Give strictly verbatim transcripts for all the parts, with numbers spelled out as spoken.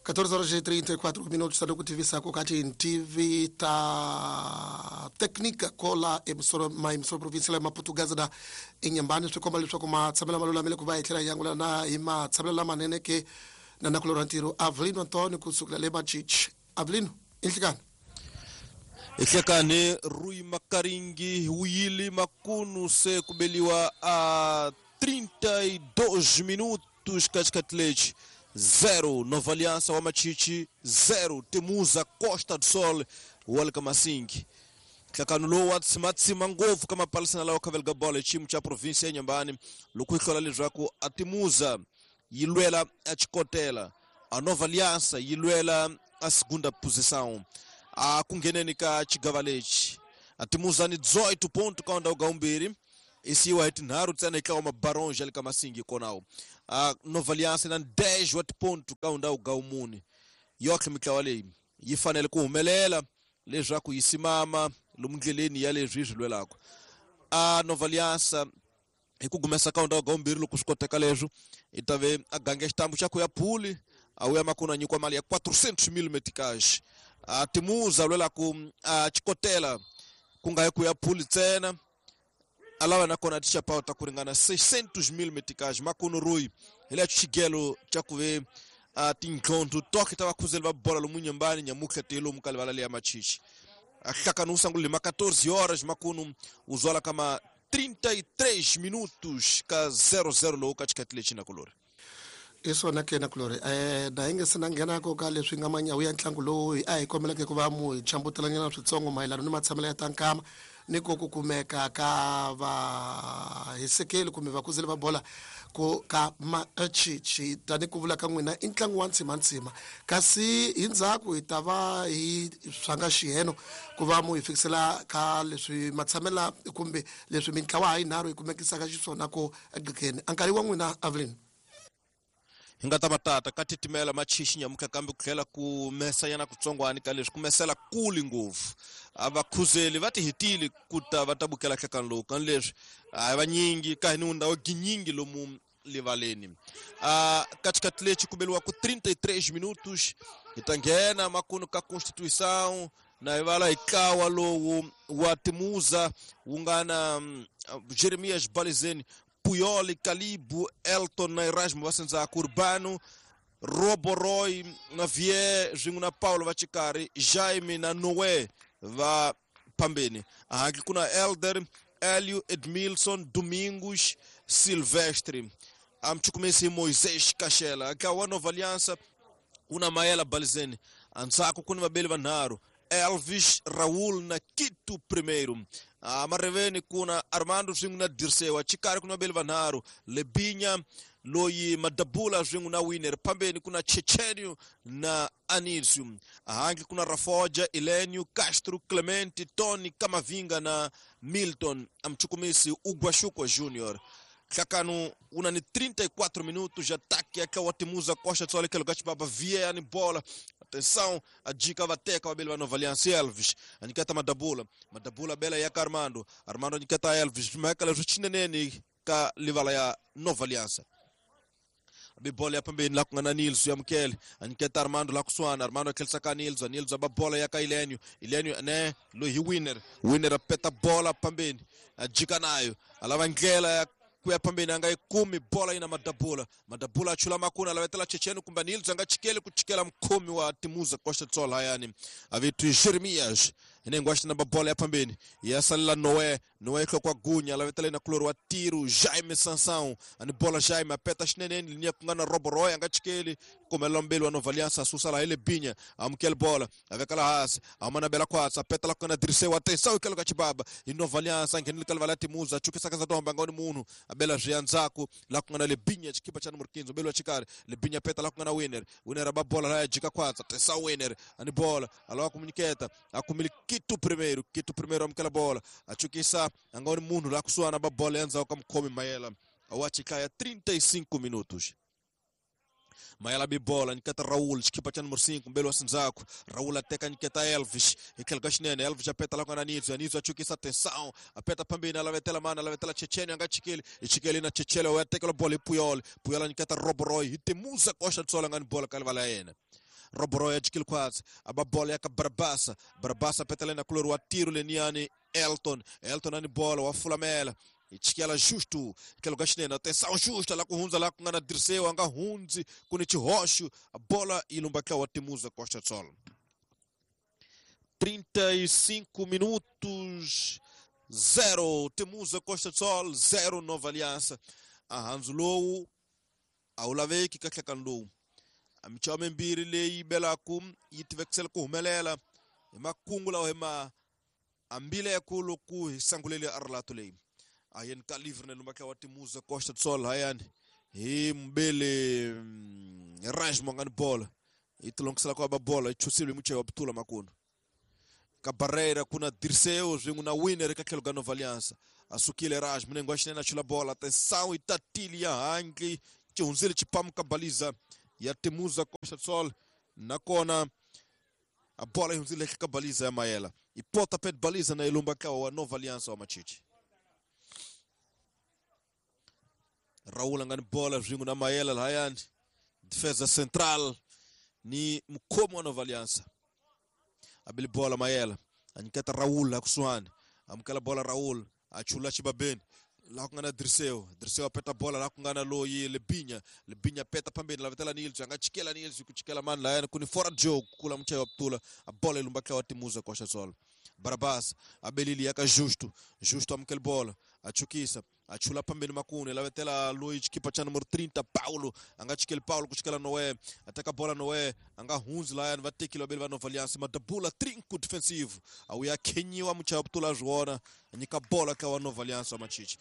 catorze horas e trinta e quatro minutos, está no tivisa com T V ta técnica cola emissora ma emissora provincial ma portuguesa da Inhambane swi komba leswaku matshamelo ma lulamile ku va hi tlhela hi angula na hi matshamelo lamanene ke na nakulorhi ntirho Avelino Antonio kusukela le Machichi. Avelino, inhlikani ihlekane Rui Makaringi wuyile makunu se kubeliwa a trinta e dois minutos katikati zero Nova Aliança wa Machichi zero Temuza Costa do Sol walka Masingi hlakano lowu wa tsimatsima ngopfu ka mapalisana lawa khavelaka bola xiyimo xa province ya Inhambane loko yi hlola leswaku a Temuza yi lwela a Chikotela a Nova Aliança yi lwela a segunda posição a ku ngheneni ka xigava lexi a Temuza ni dezoito ponto ka ndhawu ga vumbirhi isiwa hi tinharhu ntsena eka wa Mabaronja le ka Masingi konawo a Nova Aliança na dez wa tiponto ka ndhawu ga vumune yotlhe mitlawa leyi yi fanele ku humelela leswaku yi simama lomu ndleleni ya leswi yi swi lwelaka a Nova Aliança hi ku gumesa ka ndhawu ga vumbirhi loko swi koteka leswo i ta ve a gange xitambu xa ku ya phuli a wuya makunu a nyikiwa mali ya quatrocentos mil meticais a Temuza lwela ku a Chikotela ku nga yi ku ya phuli ntsena a lava nakona tixapawu ta ku ringana seiscentos mil meticais makunu Rui hi le xigelo xa ku ve a tintlhontho toke ta vakhuzeli va bola lomu Inhambane nyamutlha te lomu ka livala leya Machichi a hlakano wu sungule ma catorze horas makunu wu zwala kama trinta e três minutos ka zero zero lowu ka xikati lexi na kulori i swona ke na kulori eh na hi nge se na nghenako ka leswi nga manyawu ya ntlangu lowu a hi kombeleke ku va mu hi chambutelanyana switsongo mayelana ni matshamelo ya ta nkama ni ko ku kumeka ka vahisekeli kumbe vakuzeli va bola ku ka Machichi tani ku vula ka n'wina i ntlangu wa ntsimantsima kasi hi ndzhaku hi ta va hi swanga xiheno ku va mu hi fikisela ka leswi matshamela kumbe leswi mintlawa ha yinharhu yi kumekisaka xiswona ku egqikeni a nkarhi wa n'wina Avelino hi nga ta matata ka titimela Machichi nyamutlha kambe ku tlhela ku mesa yana kutsongwani ka leswi ku mesela kuli ngopfu a vakhuzeli va ti hetile ku ta va ta bukela hlakano lowu kan leswi a hi vanyingi ka hi ni ndhawu ginyingi lomu livaleni a katikati lexi ku beliwa ku trinta e três minutos hi ta nghena makunu ka Constituição na hi vala hi ntlawa lowu wa Temuza wu nga na Jeremias Balizeni Puyoli, Calibo, Elton na Erasmo va sendzaka Urbano, Roboroy na Vie swin'we na Paulo va xikarhi, Jaime na Noé va phambeni. Ahaki ku na Elder, Elio, Edmilson, Domingos, Silvestre. Amchukumesi Moisés Kashela. Ntlawa wa Nova Aliança wu na Mayela Balizeni. Andzhaku ku ni vabeli vanharhu, Elvis, Raul na Quito primeiro. Ah, mareveni kuna Armando swin'we na Dirceu, xikarhi ku na vabeli vanharhu, Lebinha loyi Madabula swin'we na Winner, phambeni kuna Chechenio na Anísio. Ahangi kuna Rafoja, Elenio, Castro, Clemente, Tony, Camavinga na Milton. Amchukumisi Uguachuco Júnior. Hlakano una ni trinta e quatro minutos ataque aqui o Temuza Costa só aquele gato baba via ni bola. Atenção, a dica vateca babeli va Nova Aliança Elvis. Anikata Madabula, Madabula bela ya Armando, Armando anikata Elvis, Michael Ruchineneni ka livala ya Nova Aliança. Bibola ya pembeni la kungana Nils ya Mkele, aniketa Armando la kuswana, Armando akelsa ka Nils, Nils ababola ya ka Ilenio, Ilenio ne lo hi winner, winner apeta bola pembeni, ajika nayo, alava ndlela ya kuya pambeni anga ikumi bola ina Madabula, Madabula achula makuna alavetela Chechenu kumba Nils anga chikele kuchikela mkhomi wa Temuza Costa do Sol hayani avitu Jeremias inengo ashina bola ya pambeni yasalela Noé, Noé kwa gunya alavetela ina kuloro wa tiro Jaime Sansão ani bola Jaime apeta xineneni linia kungana Roboroy anga chikele kumela mbeli wa Nova Aliança susa la ele Binha amkele bola avekala hasi amana bela kwatsa apeta la kuna Dirceu atenção ikelo kachibaba i Nova Aliança ngenile kalvala Temuza chukisa kaza domba ngoni munhu abela zvianzaku la kungana Lebinha chikipa cha número quinze mbeli wa chikari Lebinha peta la kungana Winner, Winner aba bola la jika kwatsa atenção Winner ani bola alawa komuniketa akumili Quito primeiro, Quito primeiro amkela bola achukisa angoni munhu la kusuana ba bola yanza okamkhomi Mayela awachikaya trinta e cinco minutos. Mayela bibola niketa Raul chikipa cha número cinco mbele wa Sinzaku Raul ateka niketa Elvis ikhelga xinene Elvis apeta la kona Nitso Nitso achukisa atenção apeta pambeni alavetela mana alavetela Chechene anga chikeli ichikeli na Chechele wa ateka la bola Puyol Puyol niketa Roboroy Temuza Costa do Sol ngani bola kalivala yena Roboro ya jikil kwatsi aba bola ya ka Barabasa Barabasa petelena kulori wa tiro leniani Elton Elton ani bola wa fulamela ichikela justo tlhelo ka xinene atenção justo la ku hundza la ku nga na Dirceu a nga hundzi ku ni xihoxo a bola yi lumba tlawa wa Temuza Costa do Sol. trinta e cinco minutos, zero Temuza Costa do Sol, zero Nova Aliança. A handzu lowu a wu laveki ka nhlekani lowu. A michava mimbirhi leyi belaku yi tivekisela ku humelela hi makungu lawa hi ma ambileko loko hi sangulele a rilato leyi. Ayeni ka livre lumba tlawa Temuza Costa do Sol hayani hi mbele Erasmo ngani bola yi tilongisela ku ba bola yi chusile mucheva putula makunu ka Barreira kuna Dirceu swin'we na Winner ka tlhelo ka Nova Aliança. Asukile Erasmo nengo wa xinene a chula bola atenção yi tatile ya handle xi hundzile xipamu ka baliza ya Temuza Costa do Sol nakona a bola yi hundzile ka baliza ya Mayela i pontapé de baliza na ilumba tlawa wa Nova Aliança wa Machichi. Raul angani bola swin'we na Mayela lahayani defesa central ni mukhomi wa Nova Aliança. Abili bola Mayela anyiketa Raul la kusuhani amukela bola Raul achula xibabeni laha ku nga na Dirceu Dirceu a peta bola laha ku nga na loyi Lebinya Lebinya peta phambeni lavetela Nils a nga chikela Nils ku chikela mani lahayani ku ni fora joe kula muchayi wa putula a bola yi lumba tlawa Temuza Costa do Sol. Barabas abelili ya ka Justo Justo amukela bola a chukisa a chula phambeni makunu lavetela loyi xikipa xa numero trinta Paulo a nga chikeli Paulo ku chikela Noé ateka bola Noé a nga hundzi lahayani va tekile vabeli va Nova Aliança madabula trinco defensivo a wu ya khenyiwa muchayi wa putula a swi vona a nyika bola ka wa Nova Aliança wa Machichi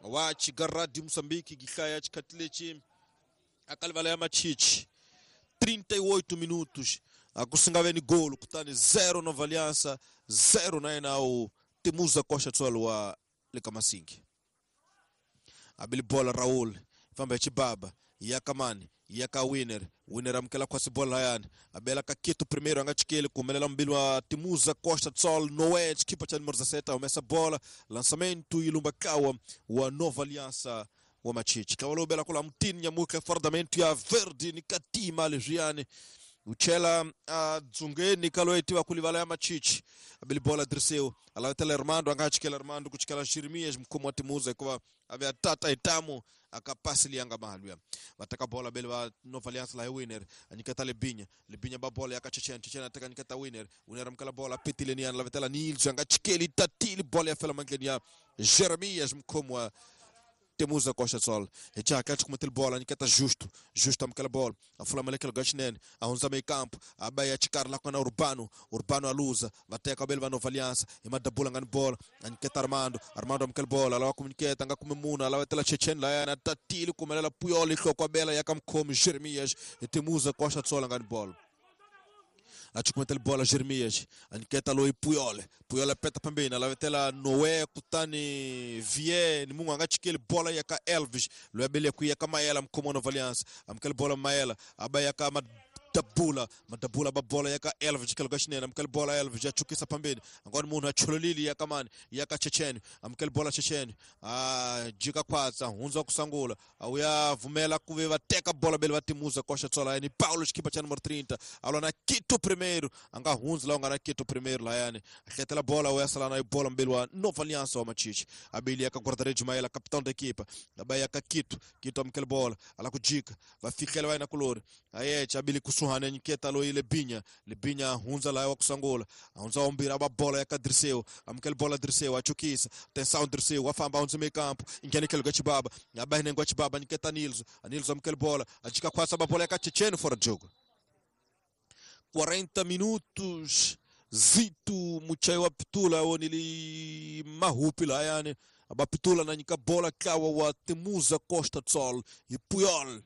wa Chigaradi Moçambique gihlaya xikhathi lexi a ka livala ya Machichi. trinta e oito minutos a ku singave ni golo kutani zero Nova Aliança zero na yena o Temuza Costa do Sol wa le ka Masingi. Abili bola Raul famba xibaba ya kamani ya ka Winner Winner amukela khwasi bola hayani abela ka Kito primeiro a nga chikeli ku humelela mbili wa Temuza Costa do Sol Noé xikipa xa numero dezessete humesa bola lançamento yi lumba tlawa wa Nova Aliança wa Machichi. Tlawa lowu bela kula mutini nyamuka fardamento ya verde ni katima leswiyani uchela a dzungeni ka loyi tiva ku livala ya Machichi. Abili bola Dirceu alavetela Armando a nga chikela Armando ku chikela Jeremias mukhomi wa Temuza hikuva a ve a tata hi tamu a ka pasi leyi a nga mahalwiya. Va teka bola beli va Nova Aliança laha hi Winner a nyiketa Lebinya Lebinya ba bola ya ka Chechen Chechen a teka nyiketa Winner Winner amukela bola petile niyani lavetela Nils a nga chikeli tatile bola ya fela mandleni ya Jeremias mukhomi wa Temuza Costa do Sol. Hi xihatla xi kumetile bola nyiketa Justo Justo amukela bola a fula malekelo ga xinene a hundza meyi campo a ba ya xikarhi laha ku nga na Urbano Urbano a luza va teka vabeli va Nova Aliança hi madabula nga ni bola a nyiketa Armando Armando amukela bola a lava ku nyiketa a nga kumi munhu a lavetela Chechen lahayani a tatile ku humelela Puyol yi hloko a bela ya ka mukhomi Jeremias hi Temuza Costa do Sol a nga ni bola. A chukumetela bola Jeremias a nyiketa loyi Puyol Puyol a peta phambeni a lavetela Noé kutani Vie ni munhu a nga chikeli bola ya ka Elvis loyi a bele ku ya ka Mayela mukhomi wa Nova Aliança amukela bola Mayela a ba ya ka Madabula Madabula ba bola ya ka Elvis tlhelo ka xinene amukela bola Elvis ya chukisa phambeni angoni munhu a chololile ya ka mani ya ka Chechen amukela bola Chechen a jika khwatsa hundza ku sangula a wu ya vumela ku ve va teka bola bele va Temuza Costa do Sol ni Paulo xikipa xa numero trinta a lwa na Kito primeiro a nga hundzi laha u nga na Kito primeiro lahayani a hletela bola wu ya sala na bola mbili wa Nova Aliança wa Machichi abili ya ka guarda-redes Mayela capitão da equipa a ba ya ka Kito Kito amukela bola ala ku jika va fihlela va yena kulori ayeche abili kusuhani anyiketa loyi Lebinya Lebinya hundza laha wa ku sangula hundza wambirhi a ba bola ya ka Dirceu amukela bola Dirceu a chukisa atenção Dirceu a famba hundza meio campo nghena tlhelo ka xibaba a ba hinengo wa xibaba anyiketa Nils Nils amukela bola a jika khwasa ba bola ya ka Chechen fora de jogo. quarenta minutos Zito muchayi wa pitula wonili mahupi lahayani aba pitula na nyika bola tlawa wa Temuza Costa do Sol e Puyol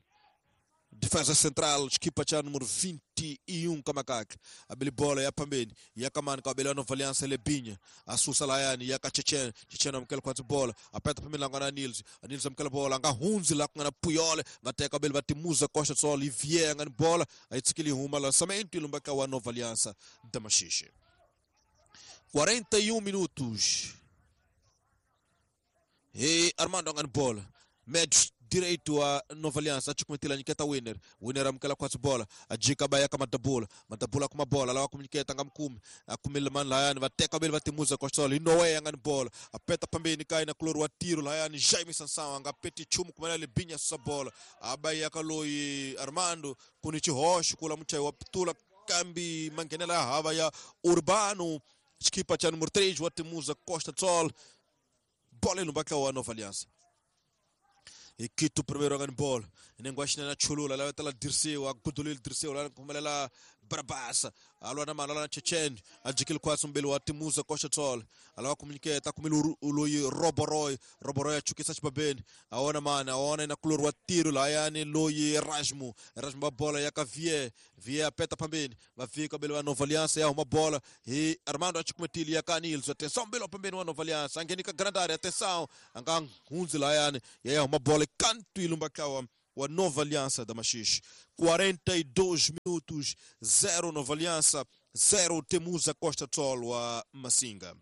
defesa central xikipa xa número vinte e um kamakaka abili bola ya phambeni ya kamani ka abeli wa Nova Aliança Lebinya asusa lahayani ya ka Chechen Chechen amukela khwatsi bola apeta phambeni la nga na Nils Nils amukela bola a nga hundzi laha ku nga na Puyol va teka abeli va Temuza Costa do Sol Vie nga ni bola a yi tshikili huma lançamento yi lumba ka wa Nova Aliança da Machixe. quarenta e um minutos e Armando nga ni bola médios direito wa Nova Aliança achukumetela nyiketa winner winner amkela kwa bola ajika baya kama madabula madabula kuma bola lawa kumnyiketa ngamkumi akumile man layani vateka bele vatimuza kwa sola inowe yangani bola apeta pambeni kai na kulori wa tiro layani Jaime Sansão angapeti chumu kumela libinya sa bola abaya kaloi Armando kuni chihosh kula mchai wa pitula kambi mangenela hava ya Urbano skipa cha número três wa Temuza Costa Sol bola ilumbaka wa Nova Aliança Ikito primeiro angani bola nengo na chulula la tala Dirceu agudulil Dirceu la kumelela Brabasa alwa na mala na Chechen ajikil kwa sumbelo wa Temuza Costa Sol alawa kumnyiketa kumilu loyi Roboroy Roboroy achukisa chibabeni aona mana aona ina kulor wa tiro la yani loyi Rasmu Rasmu bola ya Vie Vie apeta pambeni vafika belo wa Nova Aliança ya uma bola e Armando achikumetili ya Kanilso atenção belo pambeni wa Nova Aliança angenika grande área atenção anga hunzi la yani ya uma bola canto ilumbakawa wa Nova Aliança da Machixe. quarenta e dois minutos, zero Nova Aliança, zero Temuza Costa Sol wa Massinga.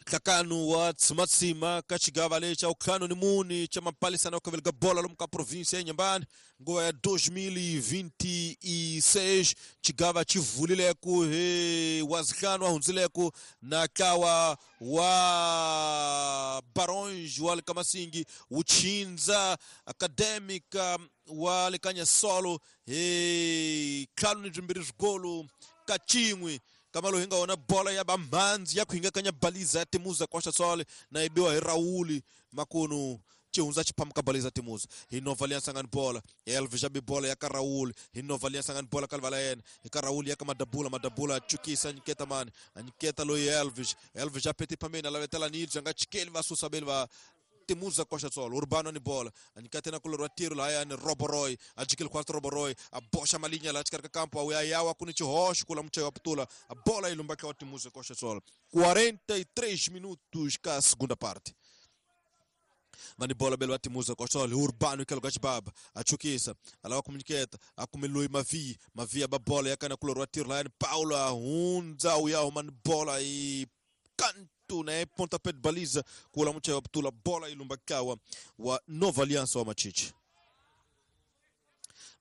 Kakanu wa Tsimatsima kachigava lecha ukano ni muni cha mapalisa na ukavelga bola lomka província nyambani nguva ya dois mil e vinte e seis chigava chivulileku he wazikano ahunzileku na kawa wa Barões wa Kamasingi uchinza Acadêmica wa Lekanya Solo he kanu ni zvimbiri zvigolo kachimwe kamalo hinga ona bola ya bamhanzi ya kuhinga kanya baliza ya Temuza Costa Sol na ibiwa hi Rauli makunu chihunza chiphamuka baliza Temuza hi Nova Aliança ngani bola Elvis jabi bola ya ka Rauli hi Nova Aliança ngani bola kalvala yena hi ka Rauli ya ka Madabula Madabula chukisa nyiketa mani anyiketa loyi Elvis Elvis apeti pambeni alavetela Nilson nga chikeli va susa beli va Temuza Costa Sol Urbano ni bola anikate na kulor wa tiro la yani Roboroy ajikil kwa Roboroy abosha malinha la chikarka campo au yawa kuni chihosh kula mchayo wa putula a bola ilumbaka wa Temuza Costa Sol. quarenta e três minutos ka segunda parte mani bola belo Temuza Costa Sol Urbano que lugar de baba achukisa alawa komuniketa akumilui Mavi Mavi aba bola yakana kulor wa tiro la yani Paula hunza uyaho mani bola e canto né pontapé de baliza kula mchayo wa putula bola ilumbakawa wa Nova Aliança wa Machiche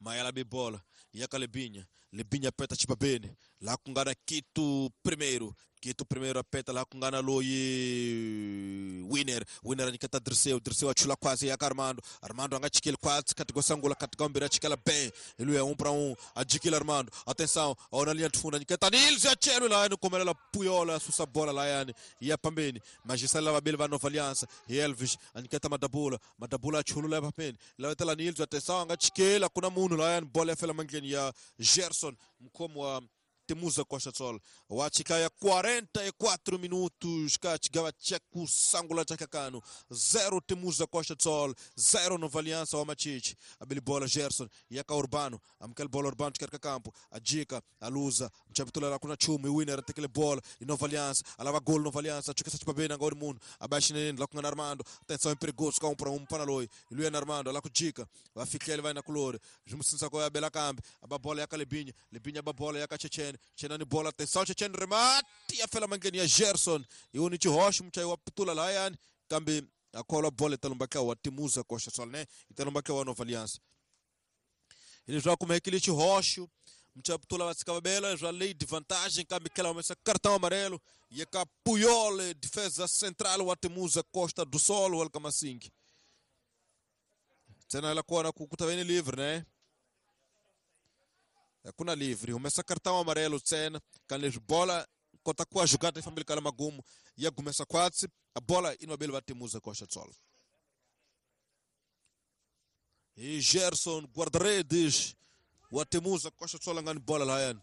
Mayala bibola yaka Lebinha Lebinha peta chibabene lá kungana Quito primeiro Quito primeiro apeta lá kungana loyi Winner Winner anikata Dirceu Dirceu achula quase yaka Armando Armando anga chikele quase katigosangula katigambira chikela bem ele é um para um adikila Armando atenção ona linha de fundo anikata Nils achelo lá no comelela Puyola susa bola lá yani ia pambeni majisala babele va Nova Aliança e Elvis anikata Madabula Madabula achulu lá pambeni lá tela Nils atenção anga chikela kuna munu lá yani bola fela mangeni ya Gerson mkomo wa Temuza Costa Sol wachikaya quarenta e quatro minutos kachigava cheku sangula chakakano zero Temuza Costa Sol zero Nova Aliança wa Machiche abili bola Gerson yaka Urbano amkel bola Urbano chikarka campo ajika aluza mchapitula la kuna chumu winner atekele bola Nova Aliança alava gol Nova Aliança chukesa chipabena ngori munu abashinene la kuna Armando atenção é perigoso ka um para um panaloi Luiz Armando ala kujika vafikele vai na kulore jumusinsa ko ya bela kambi ababola yaka Lebinha Lebinha ababola yaka Chechen Chenani bola atenção Chechen remate a fela mangeni ya Gerson e o Niti Rocha mchai wa pitula layan kambi akola bola italumbaka wa Temuza Costa Sol né italumbaka wa Nova Aliança ele joga como aquele Rocha mchai pitula vasikava bela já lei de vantagem kambi kela uma cartão amarelo e a Puyol defesa central wa Temuza Costa do Sol o Alcamasing tena ela kona kukutaveni livre né kuna livre começa cartão amarelo cena canles bola kota kwa jogada família kala magumu ya começa quatro a bola inobel va Temuza Costa Sol e Gerson guarda-redes wa Temuza Costa Sol ngani bola la yan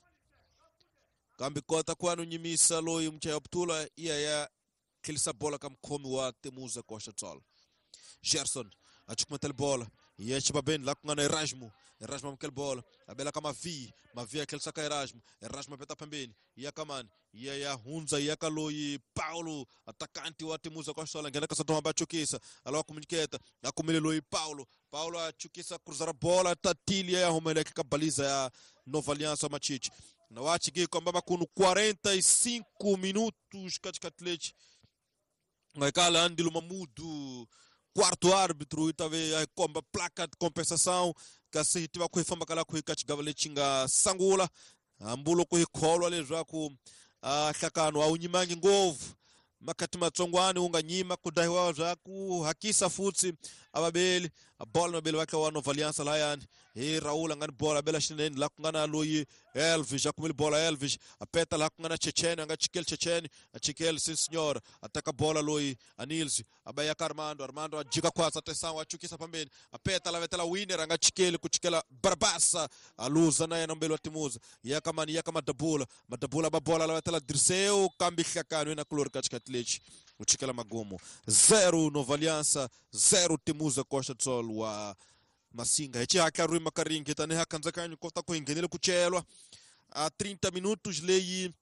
kambi kota kwa no nyimisa loyi mchaya ptula iya ya kilisa bola kam komi wa Temuza Costa Sol Gerson achukumatel bola e chibabeni lá com Erasmo Erasmo amkel bola abela kama vi Mavi aquele saca Erasmo Erasmo peta pembeni ia kamani ia ya hunza ia kaloi Paulo atacante wa Temuza Costa Sol ngena kasa toma bachukisa alawa komuniketa akumile loi Paulo Paulo achukisa cruzar a bola tatilia ya homeleke kabaliza ya Nova Aliança Machiche na wachigi kwamba makuno quarenta e cinco minutos katikati leche Ngaikala Andilo Mamudu quarto árbitro i ta ve a komba placa de compensação kasi hi tiva ku hi fambaka la ku hi ka xigava lexi nga sangula hambi loko hi kholwa leswaku a nhlakano a wu nyimangi ngopfu makati matsongwani wu nga nyima ku dahiwa bya ku hakisa futhi avabeli a bola mabeli va wa Nova Aliança layani hi Raul a nga ni bola abela xinene la ku nga na loyi Elvis a kumile bola Elvis a peta laha ku nga na Checheni a nga chikeli Checheni a chikeli sim senhor a teka bola loyi Anils a ba ya ka Armando Armando a jika khwatsa tesango a chukisa pambeni a peta la vetela winner a nga chikeli ku chikela Barbasa a luza na yena mbeli wa Timuza ya ka mani ya ka Madabula Madabula ba bola la vetela Dirceu kambi hlakano yena kulori ka xikati lexi u chikela magumo zero Nova Aliança zero Timuza Costa do Sol wa Massinga hi xihatla rima ka ringi tanihi a khandzakanyo kota ku hi nghenele ku celwa a trinta minutos leyi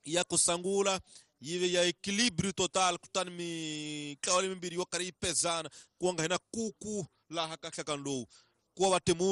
ya ku sangula yi ve ya equilíbrio total kutani mitlawa lemimbirhi yo karhi yi pezana ku nga hina kuku laha ka nhlakano lowu ku va Timuza.